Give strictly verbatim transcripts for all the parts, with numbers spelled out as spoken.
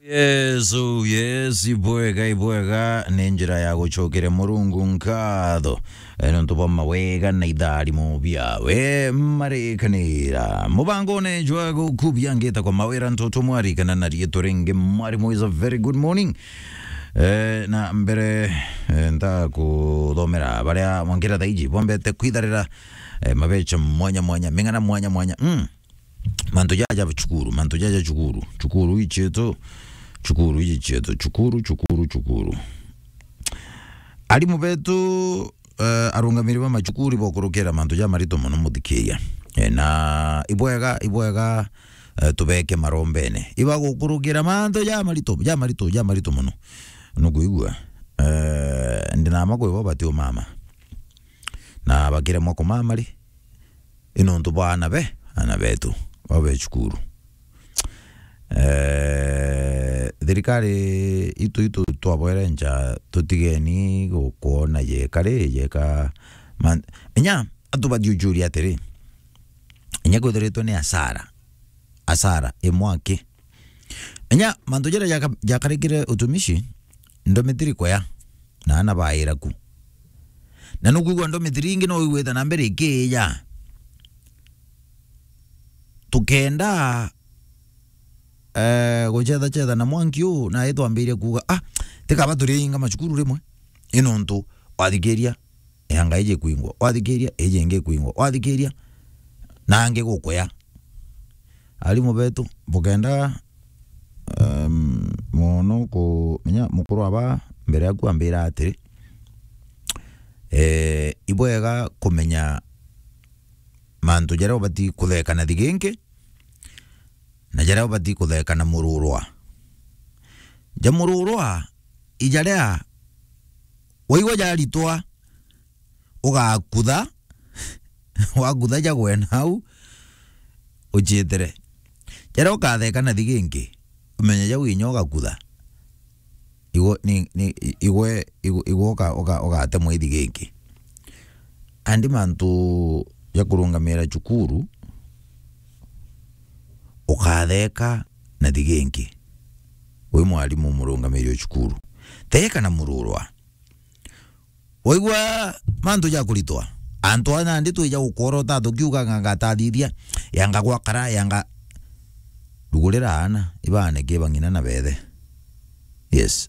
Yes, oh yes, ibwega, ibwega, ni njira ya gucokeria Murungu nkatho. Eh, nontu bwa mawega na itharimo biawe marikanira. Mubangone jwa gukubia ngita kwa mawira ntutu mwarikana na rietu ringi mwarimu is a very good morning. Eh, na mbere, eh, ntakuthomera baria mwankira thaiji bombete kwitharira, eh, mabecha mwanya mwanya, ming'ana mwanya mwanya. Mm. Mantu jaja cukuru, mantu jaja cukuru, cukuru ichietu, cukuru ichietu, cukuru, cukuru, cukuru. Arimu betu, eh, arungamiri ba macukuru bokurukira mantu ja marito mono muthikiria. Eh, na ibwega, ibwega, eh, tubeke marombene. Ibagukurukira mantu ja marito, ja marito, ja marito mono. Nukuigua? Eh, ndinama kwibo bati umama. Na bakiremwa kumama ri? I nontu bwa ana be, ana betu, babe cukuru. Eh, thirikari itu, itu twabwere nja, tutigeni gukwona yeka ri, yeka man-, inya antu bathiujuria atiri, inya kwithiritwe ni asara, asara imwe aki. Inya mantu jaria jaka-, jakarikire utumishi, ndomitiri kwea, na ana baira ku. Na nukwigua ndomitiri ingi no igwita na mbere ikija. Tukenda, eh, gucetha cetha na mwanki uu, na itwambirie kuuga, "Ah, tikaba turiinga macukuru rimwe." I nontu wathikiria, yanga iji kwingwa, wathikiria, iji ingi kwingwa, wathikiria, na angi gukuya. Arimu betu, bukenda, em, mono kumenya mukuru aba mbere yaku ambira atiri, eh, ibwega kumenya mantu jaria ubati kutheka na thiginki, na jaria ubati kutheka na mururwa. Ja mururwa, ijaria waigua jaritwa, ugakutha, wakutha jagwe nau, uciitire. Jaria ukatheka na thiginki, umenye jau inya ugakutha. Igwe, ni, ni, igwe, igwe, igwe uka-, uka-, ugatemwa i thiginki. Andi mantu ja kurungamira cukuru, ukatheka na thiginki. Wi mwarimu murungamiri o cukuru. Theka na mururwa. Waigua mantu ja kuritwa. Antu aa nandi twija gukworota tukiuga nga-, ngatathithia, yanga gwakara, yanga rugurira aana, ibaane ki bang'ina na beethe. Yes.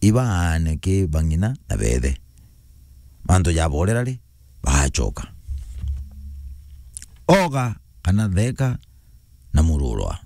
Ibaane ki bang'ina na beethe. Mantu jaborera ri, bagacoka. Oga kana theka na mururwa.